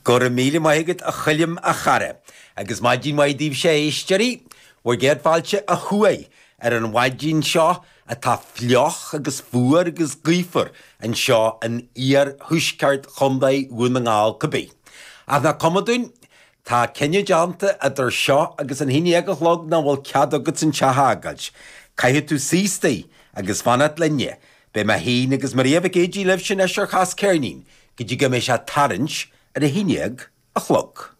Go raibh míle maith agat a Choilm a chara. Agus maidin mhaith daoibhse a éisteoirí, bhur gcéad fáilte ó thuaidh ar an mhaidin seo atá fliuch agus fuar agus gaofar anseo in iarthuaisceart Chontae Dhún na nGall cibé. Ach nach cuma dúinn, tá cinneadh déanta idir seo agus an haon dhéag a chlog nach bhfuil cead agat an teach a fhágáilt. Caithfidh tú suí istigh agus fanacht linne. Beidh mé féin agus Maria Mhic Géidigh libhse anois ar Chas Ceirnín go dtí go mbeidh sé tarraingt ar a haon dhéag a chlog.